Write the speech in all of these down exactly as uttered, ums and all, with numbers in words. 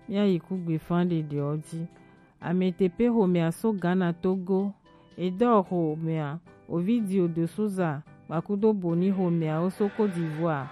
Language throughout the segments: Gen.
Míayi kugbefa ɖeɖewo ji. Ametepe xomɛa so Ghana Togo. Edɔ xomɛa, Ovidio de Souza kpakudo Boni xomɛawo so Côte d'Ivoire.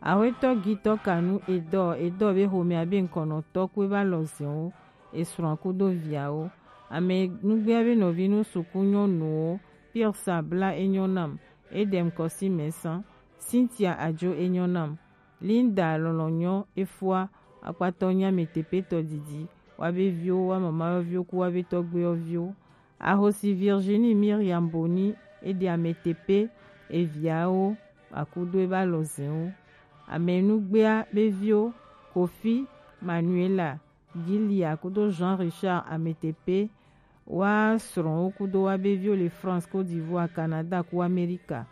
Axwetɔ Gitɔ Kanu Edɔ, Edɔ be xomɛa be ŋkɔnɔtɔ kue va lɔ zɛnwo, esrɔ̃a kudo viawo. Ame nugbea be nɔvi nu suku nyɔnuwo, Pirsa Bla enyɔ nam, Edem Kɔsi Mɛsa, Cynthia Ajo enyɔ nam, Linda Lɔlɔnyɔ Efua, akpatɔ nya Ametepe tɔ didi, wa be viwo, wa mama yɔviwo ku wa be tɔgbe yɔviwo. Ahosi Virginie Miriam Boni, eɖe Ametepe eviawo akudo eba lɔ zɛnwo. Ame nugbea be viwo, Kofi, Manuela, Gilia kudo Jean Richard Ametepe, wa srɔ̃wo kudo wa be viwo le France, Côte d'Ivoire, Canada ku Amerika.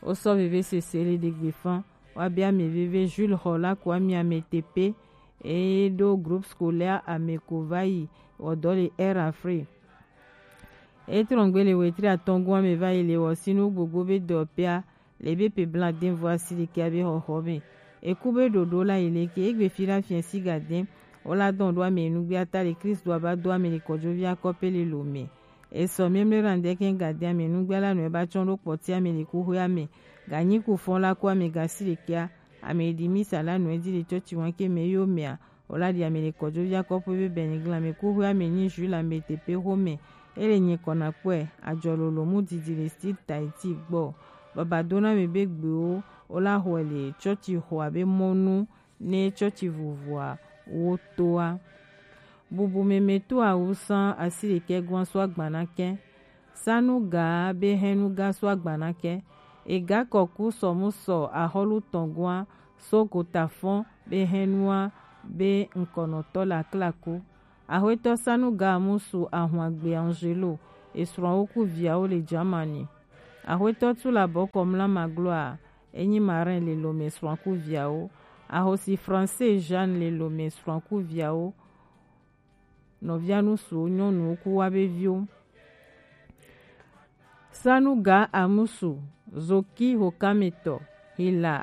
Wo sɔ veve sese le ɖegbe fan. Wa be ame veve Jules Rola ku ami Ametepe, e ɖo groupe scolaire Ameko va yi wɔ dɔ le Air Afrique. E trɔngbe le wetri atɔngua me va yi le wɔ sinu gbogbo be dɔ pea, le be pe bla den vo asi ɖekɛ be xɔxɔ me. Eku be ɖoɖo la yi leke, egbe fi la fiɛ si ga den, o la dɔn ɖo ame nugbe ata le Kristo aba do ame le kɔjovi akɔpe le lo me. Esɔ mɛmlɛ ra ndɛ kɛ ga den ame nugbe la nɔ eba tsɔn ɖo kpɔti ame le kuxwe ame, ga nyi ku fɔn la ku ame ga si ɖekɛa, ame ɖi misa la nɔ edi le tsɔtsi wan ke me yo mea, Ola ɖi ame le kɔjovi akɔƒe be Benigla me kuxwe ame nyi Jules Ametepe xome. Ele nye kɔna kpɔe, ajɔ lolo mu didi le Style Tahiti gbɔ. Baba dona me be gbewo, ola xɔe le tsɔtsi xɔa be mɔnu ne tsɔtsi vuvua wo toa. Bubu me me to awusan asi ɖekɛ gɔn so agbana kɛ. Sanuga be hɛnuga so agbana kɛ. Ega kɔku sɔmusɔ ahɔlu tɔngua so gotafɔn be hɛnua be ŋkɔnɔtɔ le aklaku. Axwetɔ Sanuga musu ahun agbe Angelo, esrɔ̃wo ku viawo le Germany. Axwetɔ Tula bɔkɔ mla magloa, enyi marin le lome srɔ̃a ku viawo. Ahosi Français Jeanne le lome srɔ̃a ku viawo. Nɔvia nusuwo nyɔnuwo ku wa be viwo. Sanuga Amusu, Zoki Hokametɔ, Hila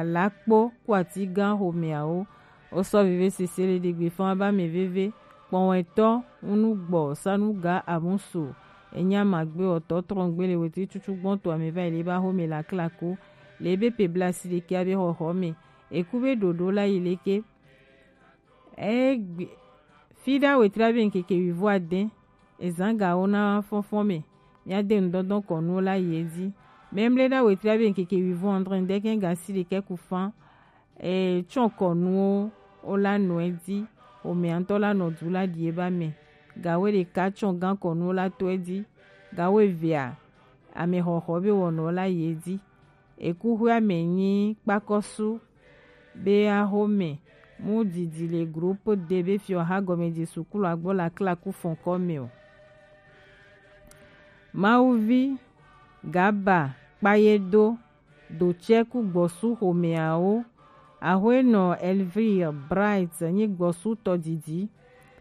Alakpo ku atigan xomeawo. Osɔ veve sese le ɖegbe fan ba me veve. Kpɔwɛtɔ ŋunugbɔ Sanuga Amusu, enya magbe ɔtɔ trɔngbe le wetri tutu gbɔn to ame va yi le ba xome le aklaku. Le be pe bla si ɖekɛ abe xɔxɔ me. Eku be ɖoɖo la yi leke. Egbe, fi ɖa wetri abe ŋkeke wivo ade, ezan gawo na fɔnfɔn me, mia de ŋdɔndɔn kɔnuwo la yi edzi. Memle ɖa wetri abe ŋkeke wivo andre ŋdɛkɛ ga si ɖekɛ ku fan, e, tsɔ kɔnuwo wo la nɔ edzi, omea ŋtɔ la nɔ du la ɖi eba me. Gawo ɖeka tsɔ gan kɔnuwo la to edzi, gawo evea, ame xɔxɔ be wɔnɔ la yi edzi. Ekuxwea me nyi kpakɔsu be axome mu didi le groupe D be fiɔ ha gɔme je sukulu agbɔ la klaku fɔnkɔ me o. Mawuvi Gaba Kpayedo do tsɛ ku gbɔsu xomeawo. Axwenɔ Elvire Bright nyi gbɔsu tɔdidi.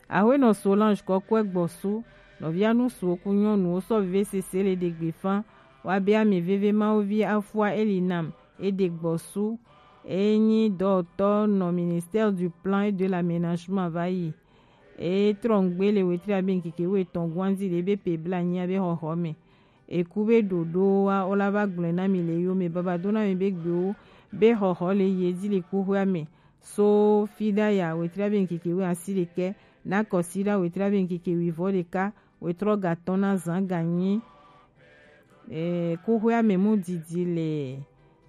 Axwenɔ Solange kɔkɔɛ gbɔsu, nɔvia nusuwo ku nyɔnuwo sɔ veve sese le ɖegbe fan, wa be ame veve Mawuvi afua eli nam, eɖe gbɔsu, enyi dɔwɔtɔ nɔ Ministère du Plan et de l'Aménagement va yi. E trɔngbe le wetri abe ŋkeke wetɔn guanzi le be pe bla nyi abe xɔxɔ me. Eku be ɖoɖo wa o la va gblɔe na mi le yo me baba do na mi be gbewo be xɔxɔ le yi edzi le kuxwea me. So fi ɖa ya wetri abe ŋkeke we asi ɖekɛ, na kɔsi ɖa wetri abe ŋkeke wivɔ ɖeka, wetrɔ gatɔn na zan ganyi. E, kuxwea me mu didi le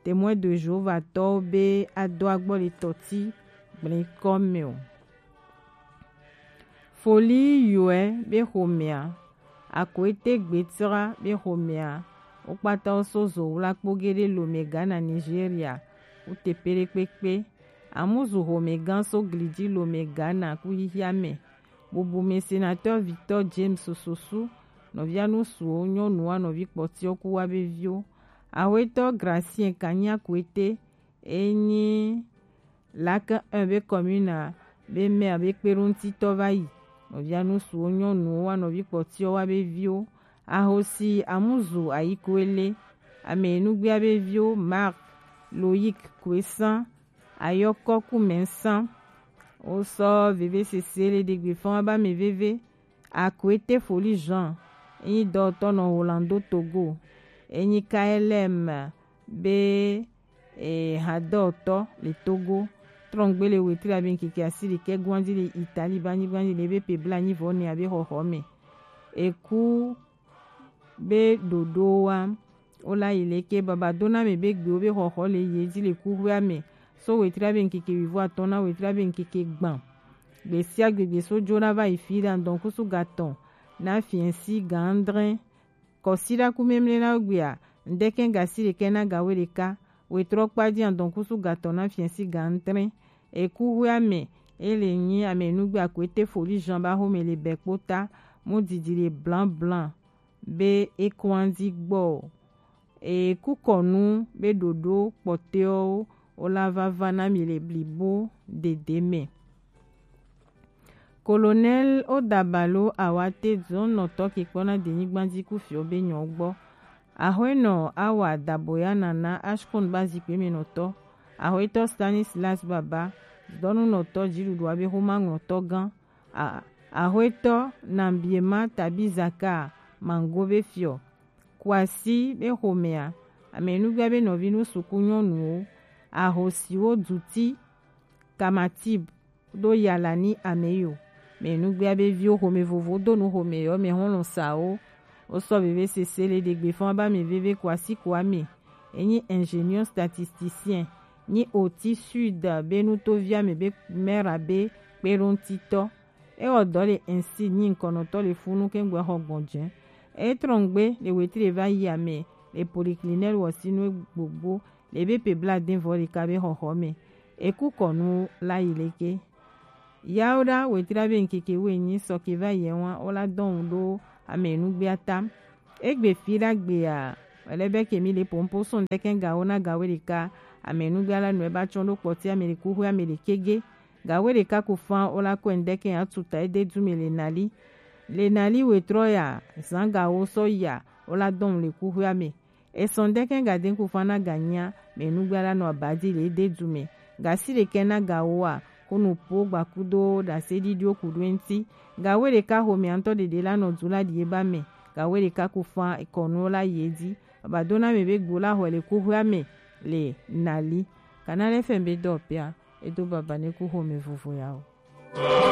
Témoin de Jéhovah tɔwo be ado agbɔ le tɔti gblẽ kɔ me o. Foli yɔɛ be xomea, Akoete Gbetsra be xomea, wo kpata wo so zo wla kpo ge ɖe Lome Ghana Nigeria, wo teƒe ɖe kpekpe. Amuzu xomegã so glidzi Lome Ghana ku xixia me. Bubu me sénateur Victor James Sosu, nɔvia nusuwo, nyɔnuwo, nɔvi kpɔtiwo ku wa be viwo. Axwetɔ Gracien Kanya Koete, enyi Lac un be commune be maire be kpeɖoŋutitɔ va yi. Nɔvia nusuwo, nyɔnuwo, wa nɔvi kpɔtiwo, wa be viwo. Ahosi Amuzu Ayikoele, ame nugbea be viwo Marc, Loïc Koesan, Ayɔkɔ Kumɛnsan, Wo sɔ veve sese le ɖegbe fɔn wa ba mɛ veve. Akwete Foli Jean, enyi dɔtɔ nɔ Orlando Togo, enyi K L M be e, hadɔtɔ le Togo. Trɔngbe le wetri abe nkeke asi ɖekɛ gwanji le Italie ba nyi gwanji le be pe bla nyi vɔ ne abe xɔxɔ mɛ. Eku be ɖoɖo wa wo la yi leke baba do na mɛ be gbewo be xɔxɔ le ye ji le kuxwea mɛ. So wetri abe nkeke wivo atɔn na wetri abe nkeke gban. Gbesia gbegbe so jo na va yi fi ɖa ndɔn kusu gatɔn na fiɛnsi gandrɛn. Kɔsiɖa ku memle na wo gbea, ŋdɛkɛ gasi ɖekɛ na gawe ɖeka, wetrɔ kpaji adɔn kusu gatɔ na fiɛsi gandrɛn. Eku hwe amɛ, ele nyi amɛ nugbe akwete Foli Jean ba xome le bɛ kpota, mu didi le blan blan be ekɔn adi gbɔ. Eku kɔnu be ɖoɖo kpɔtɛwo wo la vava na mi le blibo dede mɛ. Colonel Odabalo Awate zɔnnɔtɔ ke kpɔna denyigba ji ku fiɔ be nyɔ gbɔ. Ahwenɔ Awa Daboya Nana Ashkon ba zikpe me nɔtɔ. Ahwetɔ Stanislas Baba dɔnunɔtɔ jiɖuɖu abe xoma ŋlɔtɔ gan. A-, Ahwetɔ Nambiema Tabizaka Mango be fiɔ. Kwasi be xomea, amɛnugbea be nɔvi nu suku nyɔnuwo, ahosiwo duti, Kamatib do yalani ameyo. Mɛnugbea be viwo xome vovo do nu xome yɔ mɛ hɔnlɔn sawo. Wo sɔ veve sese le ɖegbe fɔn ba mɛ veve Kwasi Kwame. Enyi ingénieur statisticien. Nyi Oti Sud be nutovia mɛ be maire be kpeɖoŋtitɔ. Ewɔ dɔ le ainsi nyi ŋkɔnɔtɔ le funu kɛŋgbɛ xɔ gbɔn jɛ. Etrɔngbe le wetri va yi amɛ le polyclinique wɔsinu gbogbo le be pe bla den vɔ ɖeka be xɔxɔ mɛ. Eku kɔnu la yi leke. Yawo ɖa wetri be ŋkeke wo enyi sɔ ke va yi wa wo la dɔn ɖo amɛ nugbea tam. Egbe fi ɖa gbea, wɛlɛ bɛ ke mi le pompo sɔn dɛkɛn gawo na gawo ɖeka. Amɛ nugbea la nɔ eba tsɔn ɖo kpɔti amɛ le kuxwe amɛ le kege. Gawe ɖeka ku fan wo la kɔe ŋdɛkɛ atuta ede du mɛ le nali. Le nali wetrɔ ya, zan gawo sɔ ya, wo la dɔn le kuxwea mɛ. Esɔn ŋdɛkɛ ga den ku fan na ga nyia, mɛ nugba la nɔ abadi le ede du mɛ. Gasi ɖekɛ na gawo a, ko nu po gbakudo ɖase ɖiɖiwo ku ɖo eŋti. Gawe ɖeka xomɛ ŋtɔ ɖeɖe la nɔ du la ɖi eba mɛ. Gawe ɖeka ku fan ekɔnu la yi edi. Baba do na mɛ be gbo la xɔe le kuxwea mɛ le nali. Kana lɛ fɛn be dɔ pia. Edo baba ne ku xomɛ vovo ya o.